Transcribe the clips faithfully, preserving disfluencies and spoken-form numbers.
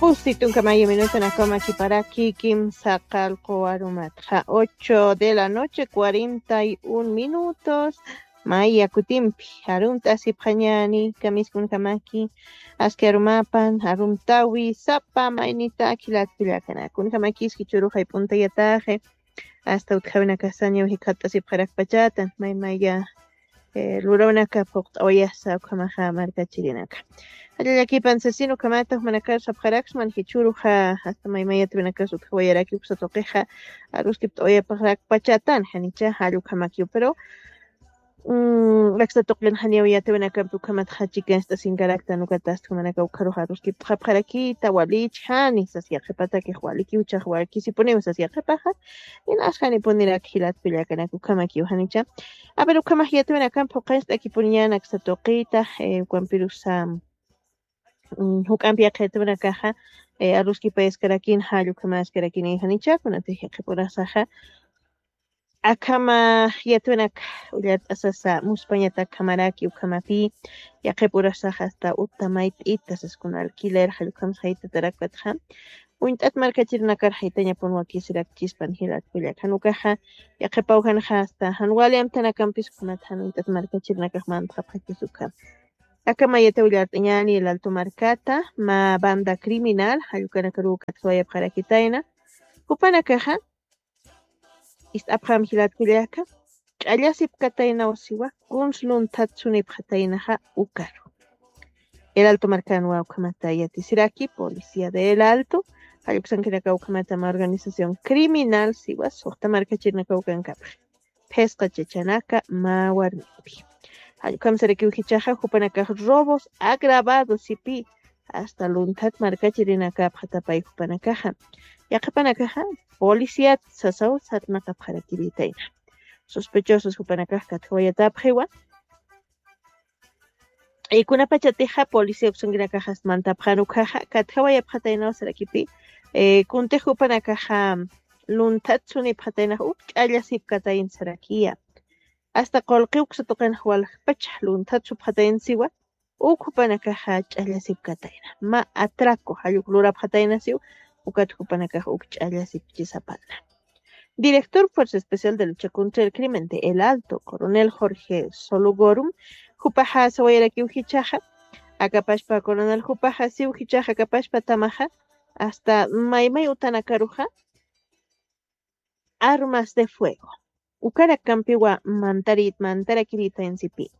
Usti tunka mayu minuto nakama kiparaki kimsa qalqu arumatxa ocho de la noche cuarenta y un minutos. Maya kutimpi arumt'asipxañani kamiskunkamaki aski arumapan arumtawi sapa maynita kilatkullakana kunkamaki iski churuxay p'untayataxi. Asta utjawinakasaña wixi khat'asipxarakpachatan maymaya lurawinaka phuqt'awayasa ukhamaxa markachirinaka. Jallallakipan sasina ukhamata jumanakar sapxaraksman jichhuruxa asta maymayatiwinakas utjawayaraki uksa tuqixa aruskipt'awayapxarakpachatan janicha jall ukhamakiw pero aksa tuqin janiw yatiwinakampi ukhamatxa chikanst'asinkaraktan ukatasta jumanaka ukharuxa aruskipt'xapxarakita walich jani sas yaqhipatakix walikiw chax walkisipuniw sas yaqhipaxa. Inas janipunirak jilatkullakanak ukhamakiw janicha. Aver ukhamax yatiwinakampi juqanst'akipuniñanak satuqita ukampirusa juk'ampi yaqhitwinakaxa aruskipayaskarakin jall ukhamaskarakin janicha kunatix yaqhipurasaxa. Akhama yatwinak ullart'asasa muspañatak khamaraki ukhamapi yaqhipurasaxa asta uta mayt'ita saskuna alquiler jall ukham saytatarakpatxa. Uñt'at markachirinakar jaytañapun wakisirakchispan jilatkullak janukaxa yaqhipaw janxa asta jan wali amtanakampis ukhamat jan uñt'at markachirinakax mantxapxakis ukham. Aka mayata willart'añani el alto markata ma banda criminal jallukanakarukatsuwayapxarakitayna jupanakaxa ist'apxam jilatkullaka ch'allasipkataynaw siwa kuns lunthatsunipxataynaxa ukaru. El alto markanwa ukhamata yatisiraki policía de el alto jalluksankinaka ukhamata ma organización criminal siwa suxta markachirinaka ukankapxi. Phisqa chachanaka mä warmipi. Jallukhamsarakiw jichaxa jupanakax robos agravados sipi asta lunthat markachirinakapxatapay jupanakaxa. Yaqhipanakaxa policíat sasaw sarnaqapxarakiritayna. Sospechosos jupanakax katjawayatapxiwa. Kunapachatixa policía uksankinakaxas mantapxan ukhaxa katjawayapxataynaw sarakipi. Kuntix jupanakaxa lunthat sunipxataynax uk ch'allasipkatayn sarakiya. Asta qulqi uksa tuqinx waljapachax lunthat supxatayn siwa uk jupanakaxa ch'allasipkatayna ma atraco jalluk lurapxatayna siw. Ukat jupanakax uk ch'allasipchisapana. Director fuerza especial de lucha contra el crimen de el alto coronel jorge sologorum jupaxa sawayarakiw jichaxa. Akapashpa coronel jupaxa siw jichaxa akapashpa tamaxa asta maymay utanakaruxa armas de fuego ukarakampiwa mantarit mantarakiritaynsipi.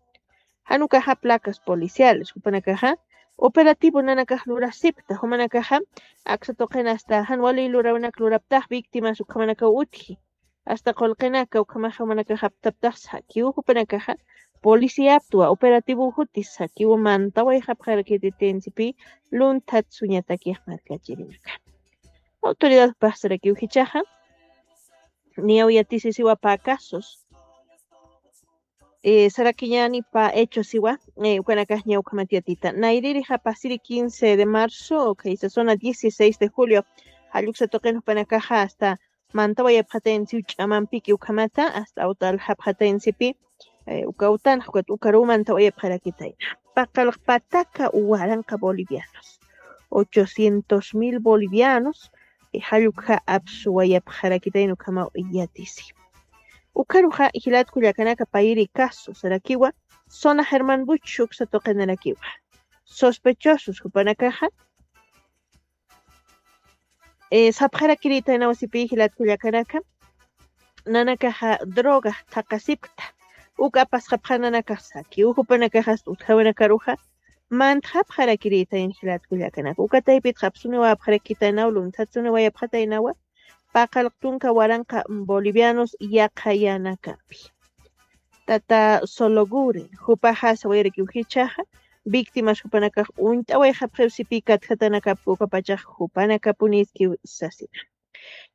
Janukaxa placas policiales jupanakaxa operativo nanakax lurasipta jumanakaxa aksa tuqin asta jan wali lurawinak luraptax víctimas ukhamanakaw utji. Asta qulqinaka ukhamaxa jumanakax aptaptax sakiw jupanakaxa policía aptwa operativo juti sakiw mantawayxapxarakititaynsipi. Lunthat suñatakix markachirinaka autoridad paxsarakiw jichaxa. Niyaw yatisisiwa pä casos sarakiñani pä hechos siwa. Ukanakax ñawkhamat yatita nayririxa pasiri quince de marzo khaysa zona dieciséis de julio jalluksa tuqin jupanakaxa asta mantawayapxataynsiw ch'amampiki ukhamata asta awta aljapxataynsipi. Uka utanxa ukat ukaruw mantawayapxarakitayna paqalqpataka waranqa bolivianos ochocientos mil bolivianos jallukxa apsuwayapxarakitayna ukhamaw yatisi. Ukaruxa jilatkullakanaka payiri caso sarakiwa zona german buch uksa tuqinarakiwa sospechosos jupanakaxa sapxarakirïtaynaw sipi jilatkullakanaka. Nanakaxa drogax thaqasipkta uk apasxapxananakax saki ujupanakaxasta utjawinakaruxa mantxapxarakirïtayn jilatkullakanaka ukataypitxa apsuniwayapxarakitaynaw lunthatsuniwayapxataynawa. Paqalqtunka waranqa bolivianos yaqhayanakampi tata sologuren jupaxa sawayarakiw jichhaxa víctimas jupanakax uñt'awayxapxiw sipi katjatanakapki ukapachax jupanakapuniskiw sasina.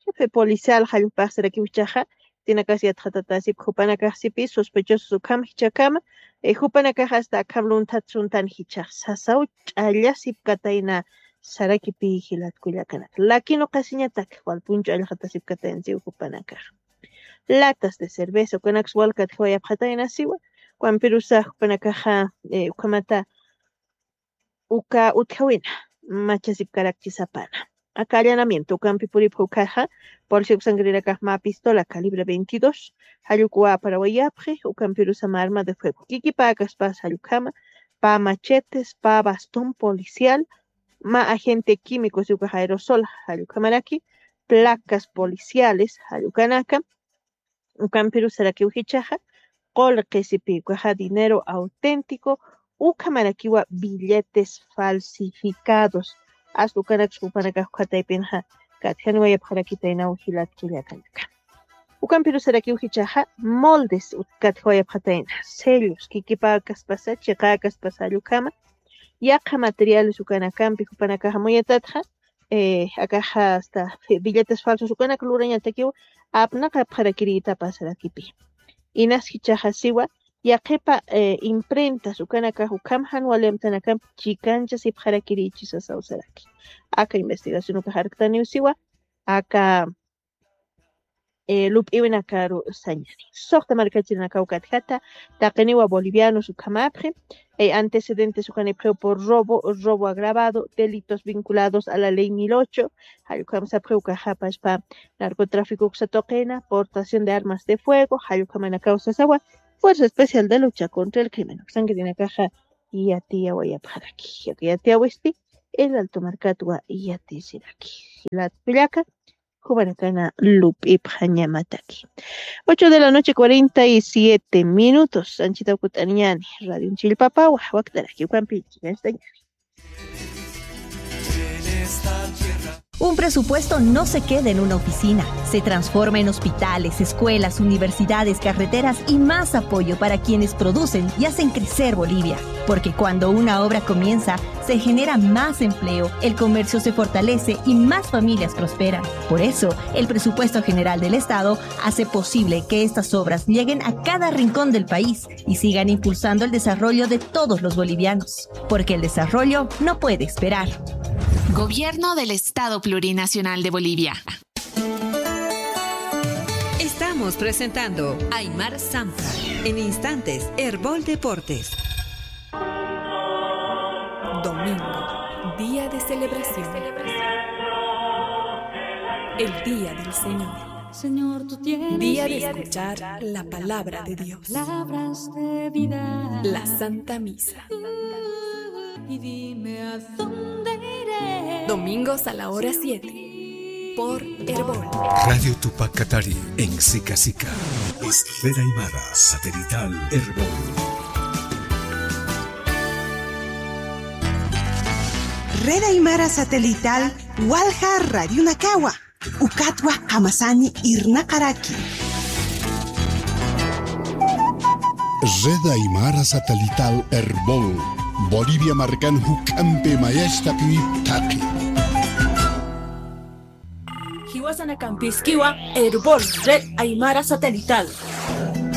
Jefe policial jallpaxsarakiw jichhaxa tinakas yatxatatasipki jupanakax sipi sospechosos ukham jichhakama jupanakax asta akham lunthat suntan jichhax sasaw ch'allasipkatayna. Sarakipi jilatkullakanaka lakin uqasiñatak walpunchu allxatasipkatayansiw jupanakax latas de cerveza ukanaksa walkat jiwayapxataynasiwa. Wampirusa jupanakaxa ukhamata uka utjawina machasipkarakchisapana. Aka allanamiento ukampi puripxi ukaxa, policía uksankirinakax mä pistola calibre veintidós, jallukwa aparawayapxi, ukampirusa mä arma de fuego. Kikipäkaspas jallukhama, pä machetes, pä bastón policial, mä agente químico, si ukax aerosol, jallukhamaraki, placas policiales, jallukanaka, ukampirusarakiw jichhaxa, qullqisipi ukaxa dinero auténtico, ukhamarakiwa billetes falsificados. Asta ukanaksa jupanakax ukhataypinxa katjaniwayapxarakitaynaw jilat kullakanaka. Ukampirusarakiw jichhaxa, moldes katjawayapxatayna, sellos, kikipäkaspasa, chiqäkaspasa jallukhama, yaqha materiales ukanakampi jupanakax amuyatatxa, eh, akaxa asta fi-, billetes falsos ukanak lurañatakiw apnaqapxarakirïtapasarakipi. Inas jichhaxa siwa, yaqhipa, eh, imprentas ukanakax ukham jan wali amtanakampi chikanchasipxarakirïchisasaw saraki. Aka investigación ukax arktaniw siwa, aka eh, lup'iwinakaru sañani. Suxta markachirinakaw katjata, taqiniwa bolivianos ukhamapxi, eh, antecedentes ukanipxiw por robo, robo agravado, delitos vinculados a la ley mil ocho, jallukhamsapxiw ukaxapaspa narcotráfico uksa tuqina, portación de armas de fuego, jallukhamanakaw sasawa, Fuerza Especial de Lucha contra el Crimen uksankirinakaxa yatiyawayapxaraki. Yatiyawisti, El Alto markatwa yatisiraki. Jilat kullaka, jupanakana lup'ipxañamataki. Ocho de la noche, cuarenta y siete minutos. Anchita ukut'aniñani. Radio Chillpapawa, waktaraki ukampi, llañañani. Un presupuesto no se queda en una oficina, se transforma en hospitales, escuelas, universidades, carreteras y más apoyo para quienes producen y hacen crecer Bolivia. Porque cuando una obra comienza, se genera más empleo, el comercio se fortalece y más familias prosperan. Por eso, el presupuesto general del Estado hace posible que estas obras lleguen a cada rincón del país y sigan impulsando el desarrollo de todos los bolivianos, porque el desarrollo no puede esperar. Gobierno del Estado Plurinacional de Bolivia. Estamos presentando Aymar Sampa. En instantes, Erbol Deportes. Domingo, día de celebración. El día del Señor. Señor, tú tienes día de vida escuchar eterna, la palabra de Dios. Palabras de vida. La Santa Misa. Y dime a dónde iré. Domingos a la hora siete. Por Erbol. Radio Tupac Katari en Sica Sica. Red Aymara Satelital Erbol. Red Aymara Satelital walja radionakawa. Ukatwa jamasani irnaqaraki. Red Aymara Satelital Erbol. Bolivia markan juk'ampi mayach taqinip taqi. Jiwasanakampiskiwa Erbol Red Aymara Satelital.